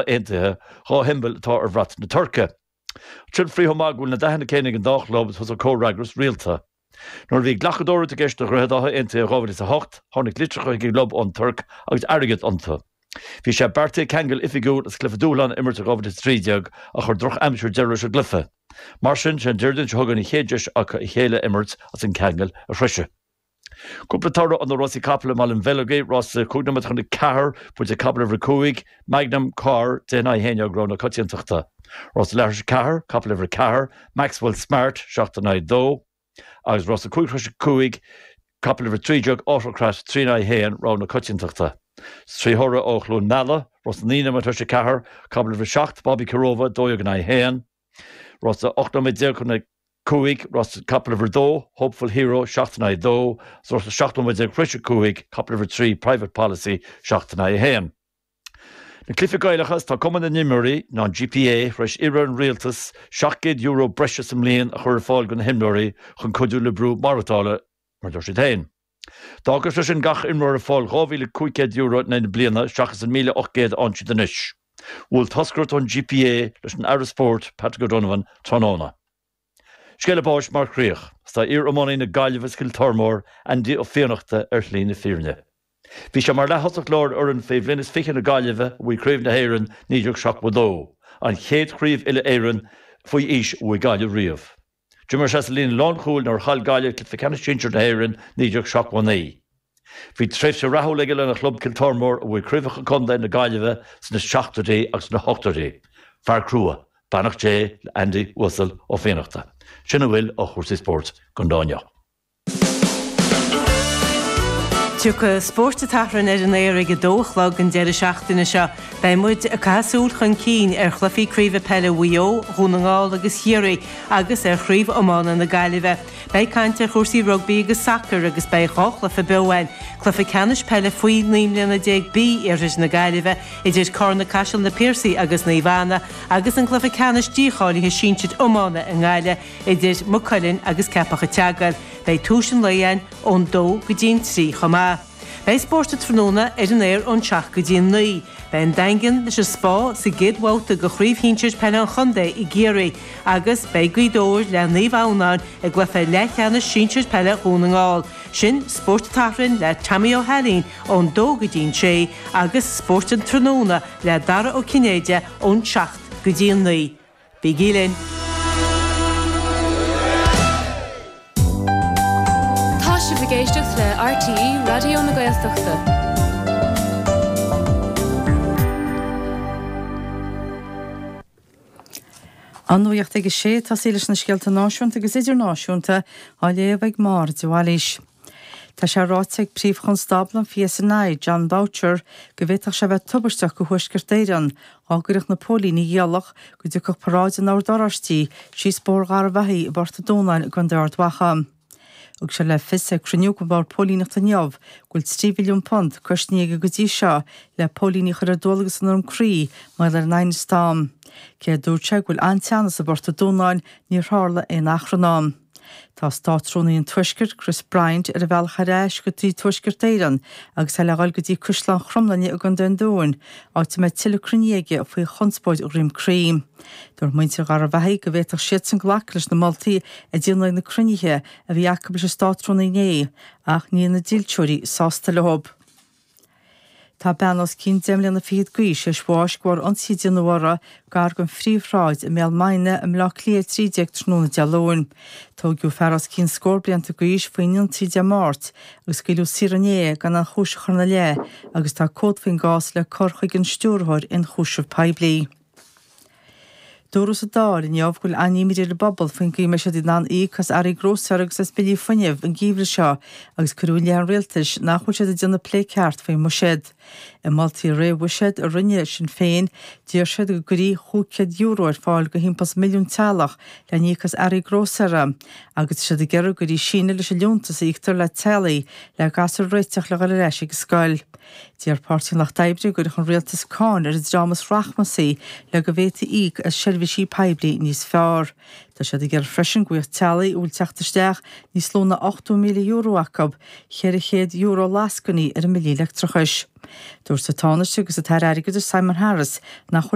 Aontaithe, 2 shiombail atá ar bhrat na Tuirce. Sin faoi chomh maith go bhfuil na dathanna céanna ag an dá chlub is thosaigh comhfhreagras rialta. Nuair a bhí glacadóireacht i gceist do Dhroichead Átha Aontaithe i 2008, tháinig litreacha chuig an gclub ón Tuirc agus airgead iontu. Bhí sé beartaithe ceangal oifigiúil agus cluiche dúshláin a imirt i 2013 ach chuir drochaimsir deireadh leis an gcluiche. Mar sin, sé an Déardaoin seo chugainn an chéad deis acu a chéile a imirt agus an ceangal a threisiú. Cúpla toradh ó na rásaí capall i mBaile an Bheilg, rása 5 nóiméad chun 4, buaite ag capall uimhir 5, Magnum Car, 10 in aghaidh 11, rogha na coitiantachta. Rása leathuair tar éis 4, capall uimhir 4, Maxwell Smart, 7 in aghaidh 2, agus rása 5 tar éis 5, capall uimhir 13, Autocrat, 3 in aghaidh 1, rogha na coitiantachta. 3 thoradh ó Chluain Meala, rása 9 nóiméad tar éis 4, capall uimhir 7, Bobby Kirova, 12 in aghaidh 1. Rása 18 nóiméad chun 5, rása capall uimhir 2, Hopeful Hero, 7 in aghaidh 2, agus rása 17 nóiméad tar éis 5, capall uimhir 3, Private Policy, 7 in aghaidh 1. Na Cluichí Gaelacha, is tá Cumann na nImreoirí, ná an GPA, tar éis iarraidh ar an Rialtas €700 breise sa mbliain a chur ar fáil do na himreoirí chun cuidiú le brú maireachtála, mar a deir siad féin. D'fhágfadh sé sin gach imreoir ag fáil €2,500 in aghaidh na bliana seachas an 1,800 a fhaigheann siad anois. Bhuail toscaireacht ón GPA leis an Aire Spóirt, Patrick O'Donovan, tráthnóna. Scéala báis mar chríoch. Is tá iar-iománaí na Gaillimhe is Chill Tormóir, Andy Ó Fiannachta, ar shlí na fírinne. Bhí sé mar leath-thosach láir ar fhoireann faoi bhliain is 20 na Gaillimhe a bhuaigh Craobh na hÉireann 1972, an chéad chraobh uile-Éireann faoi aois a bhuaigh Gaillimh riamh. D'imir sé sa líne lánchúil nuair a chaill Gaillimh cluiche ceannais sinsir na hÉireann 1979. Bhí tréimhse rathúil aige lena chlub Cill Tormóir a bhuaigh craobhacha contae na Gaillimhe sna seachtóidí agus sna hochtóidí. Fear crua. Beannacht Dé le Andy Uasal Ó Fiannachta. Sin a bhfuil ó chúrsaí spóirt don lá inniu. Tiocfaidh Spórt an tSathairn ar an aer ag a dó a chlog an deireadh seachtaine seo. Beidh muid ag caitheamh súil chun cinn ar chluichí craoibhe peile Mhaigh Eo, Dhún na nGall agus Chiarraí agus ar chraobh iomána na Gaillimhe. Beidh caint ar chúrsaí rugbaí agus sacair agus beidh 2 chluiche beo againn, cluiche ceannais peile faoi 19 mbliana B Iarthar na Gaillimhe idir Carna-Caiseal Na Piarsaigh agus Naomh Anna agus an cluiche ceannais dícháilithe sinsir iomána i nGaillimh idir Maigh Cuilinn agus Ceapach an tSeagail. Beidh tús an lae againn ón dó go dtí an trí chomh maith. Beidh Spórt an Tráthnóna ar an aer ón seacht go dtí an naoi. Beidh an Daingean leis an Spá sa gcéad bhabhta de Chraobh Shinsir Peile an Chontae i gCiarraí agus beidh Gaoth Dobhair le Naomh Adhamhnáin i gcluiche leathcheannais sinsir peile Dhún na nGall. Sin Spórt an tSathairn le Tommy Ó hAilín ón dó go dtí an sé agus Spórt an Tráthnóna le Dara Ó Cinnéide ón seacht go dtí an naoi. Bígí linn! Tá sibh ag éisteacht le RTÉ Raidió na Gaeltachta. An nuacht ag a sé, tosaí leis na scéalta náisiúnta agus idirnáisiúnta á léamh ag Máire de Bhailís. Tá sé ráite ag Príomh-Chonstábla an PSNI, Jon Boutcher, go bhféadfadh sé a bheith tubaisteach do Thuaisceart Éireann dá gcuirfeadh na póilíní iallach go dtiocfadh paráid an Oird Oráistigh síos Bóthar Gharbhachaidh i bPort an Dúnáin i gContae Ard Mhacha. Thug sé le fios ag cruinniú den Bhord Póilíneachta inniu go bhfuil £3 mhilliún cosnaithe aige go dtí seo le póilíní a chur ar dualgas in Droim Crí mar gheall ar an aighneas atá ann. Cé a dúirt sé go bhfuil an-teannas i bPort an Dúnáin, níor tharla aon achrann ann. Tá Státrúnaí an Tuaiscirt, Chris Bryant, ar a bhealach ar ais go dtí Tuaisceart Éireann agus é le dhul go dtí Caisleán Chromghlinne i gContae an Dúin, áit a mbeidh tuilleadh cruinnithe aige faoi chonspóid Dhroim Crí. Dúirt muintir Gharbhachaidh go bhféadfadh siadsan glacadh leis na moltaí a déanadh ag na cruinnithe a bhí acu leis an Státrúnaí inné, ach níl na dílseoirí sásta leo. Tá bean os cionn deich mbliana fichead d'aois théis bháis de bharr ionsaí a déanadh uirthi gar don Phríomhshráid i mBéal Maighne i mBleá Cliath 13 tráthnóna Dé Luain. Tóigeadh fear os cionn scór blianta d'aois faoin ionsaí Dé Máirt agus scaoileadh saor inné gan aon chúis a chur ina leith agus tá comhad faoin gcás le cur chuig an Stiúrthóir Ionchúiseamh Poiblí. Dúradh sa Dáil inniu go bhfuil an-imní ar an bpobal faoin gcaoi a mbeidh siad in ann íoc as earraí grósaera agus as billí fuinnimh an geimhreadh seo agus cuireadh i leith an rialtais nach bhfuil siad ag déanamh plé ceart faoin mbuiséad. I moltaí réamh-bhuiséid a rinne Sinn Féin, d'iarr siad go gcuirfí €500 ar fáil do thimpeall is milliún teaghlach le n-íoc as earraí grósaera agus tá siad ag iarraidh go gcuirfí síneadh leis an liúntas a íoctar le teaghlaigh le gasúir a réiteach le dhul ar ais ag an scoil. D'iarr Páirtí an Lucht Oibre go gcuirfeadh an rialtas cáin ar an dream is rachmasaí le go bhféadfaí íoc as seirbhísí. seirbhísí poiblí níos fearr. Tá siad ag iarraidh freisin go bhfaigheadh teaghlaigh a bhfuil teacht isteach níos lú ná €80,000 acu, €400 lascainí ar a mbillí leictreachais. Dúirt an Tánaiste agus an tAire Airgeadais Simon Harris nach bhfuil.